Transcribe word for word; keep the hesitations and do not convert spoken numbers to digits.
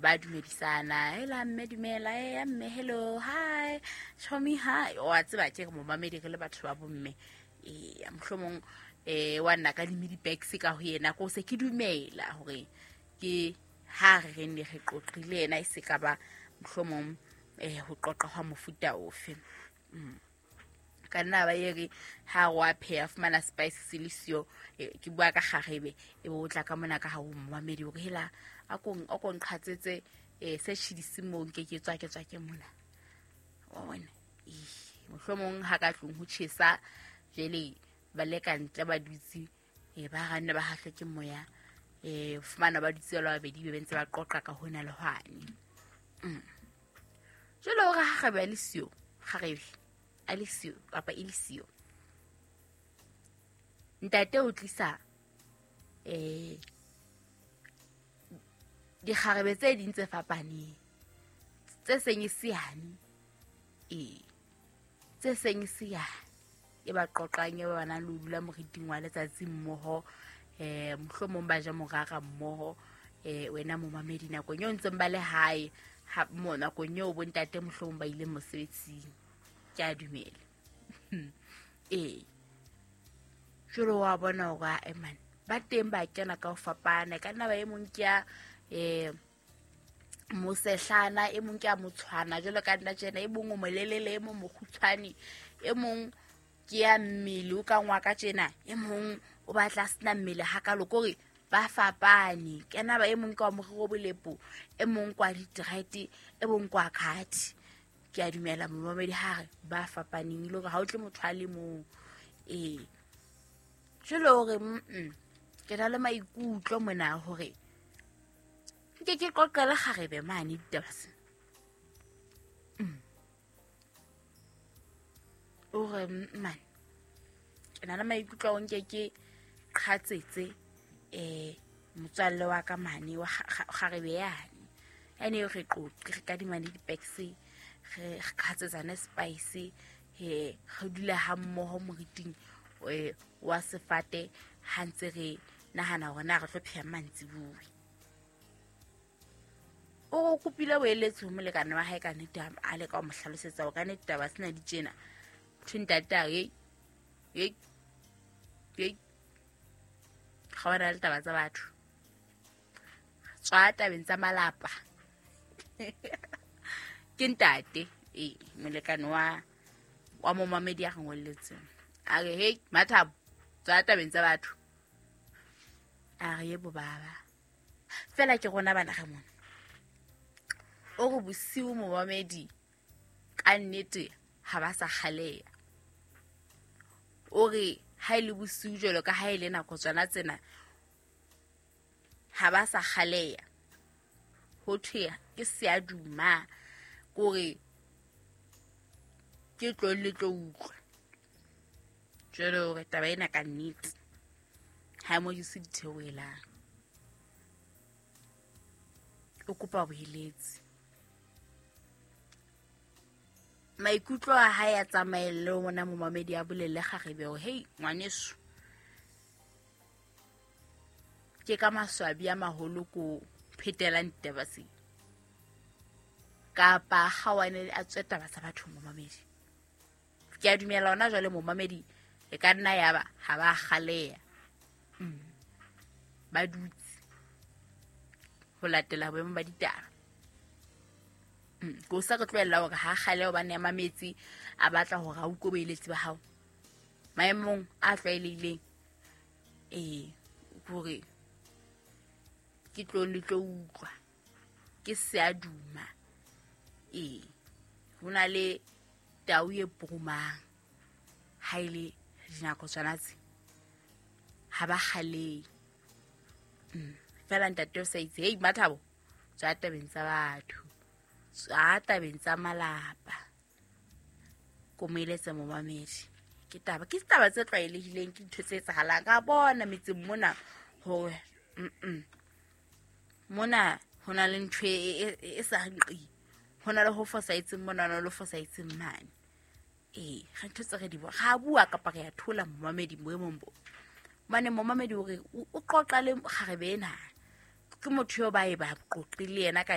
Ba dumedisana, hela mme dumela, e mme hello, hi, chomi hi. Wa tseba ke re momamedi re le batho ba bomme. Eh mohlomong eh wa nna ka di bags ka ho yena ko se ke dumela hore ke ha re re ne re qoqile yena e se ka ba mohlomong eh ho qoqa hwa mofuta ofe. Mm. Ka nna ba ere ha wa pheha fumana spice se le siyo, ke bua ka kgarebe e bo tla ka mona ka ha o momamedi hore hela a kong a kong qhatsetse eh se tshidisi mo nke ke tswa ke tswa ke mona. Wa bona mohlomong ha ka tlung ho tjhesa jele ba le ka ntle ba dutse eh ba ranne ba hahle ke moya eh fumana ba dutse ba babedi be ntse ba qoqa ka hona le hwane. Mm. Jele hore ha kgarebe a le siyo, kgarebe a le siyo kapa e le siyo, ntate o tlisa eh dikgarebe tse ding tse fapaneng tse seng e siyane, eh tse seng e siyane e ba qoqang e ba nang le ho dula moriting wa letsatsi mmoho, eh mohlomong ba ja morara mmoho. Eh wena momamedi nakong eo ntseng ba le hae ha mo nakong eo bontate mohlomong ba ile mosebetsing. Ke a dumela. Eh jwale wa bona hore a man ba teng ba kena ka ho fapana, ka nna ba e mong ke ya eh mosehlana, e mong ke ya motshwana jwalo ka nna tjena, e mong o molelele, e mong mokgutshwane, e mong ke ya mmele o ka ngwa ka tjena, e mong o batla sena mmele hakalo, kore ba fapane. Kena ba e mong ke wa morero bolepo, e mong kwa di-dread, e mong kwa khathi. Ke a dumela momamedi ha re ba fapaneng le hore ha o tle motho a le mong. Eh jwale hore mm ke na le maikutlo mona hore nke ke qoqele kgarebe mane ditaba tsena. Mm. Hore man ke na le maikutlo a nke ke qhatsetse eh motswalle wa ka mane wa kgarebe yane. Ene re qoqe re kadimane di-bags, re qhatsetsane spice, he re dula ha mmoho moriting wa sefate ha ntse re nahana hore na re tlo pheha mantsibuya. O kopile boeletsi ho molekane wa hae ka nnete, a leka ho mo hlalosetsa hore ka nnete taba tsena di tjena. Thwe ntate a re hey hey ga wa le taba tsa batho, tswa tabeng tsa malapa. Ke ntate eh molekane wa wa momamedi a re ngolletseng a re hey Mathabo tswa tabeng tsa batho. A re yebo baba, fela ke rona bana re mona. O re bosiu momamedi ka nnete ha ba sa kgaleya. O re ha ile bosiu jwalo ka ha ile nako tsona tsena ha ba sa kgaleya, ho thwe ke seaduma, kore ke tlo le tlo utlwa. Jwale hore taba ena ka nnete ha mo jese ditheohelang. O kopa boeletsi. Maikutlo a hae a tsamaelle ho bona momamedi a bolelle kgarebe hore hey ngwaneso, ke ka maswabi a maholo ko phetelang ditaba tse, kapa kgawane a tswe taba tsa batho momamedi. Ke a dumela hona jwale momamedi e ka nna ya ba ha ba kgaleya, mm. ba dutse ho latela boemo ba ditaba. Mm. Ko sa re tlohella hore ha kgale hobane ya mametsi a batla hore a utlwe boeletsi ba hao maemong a tlwaelehileng, eh hore ke tlo le tlo utlwa ke seaduma. Eh ho na le tau e purumang ha ile dinako tsona tse ha ba kgalehe. Mm. Fela ntate o sa itse hey Mathabo tswa tabeng tsa batho, tswa tabeng tsa malapa. Ko moeletse momamedi ke taba ke taba tse tlwaelehileng, ke dintho tse etsahalang. Ka bona metseng mona hore mm mona ho na le ntho e sa nqi, ho na le ho fosahetseng mona, ho na le ho fosahetseng mane. Eh re ntho tse re di bona, ra bua kapa re a thola momamedi boemong bo. Mane momamedi hore o qoqa le kgarebe ena, ke motho eo ba e ba qoqile yena ka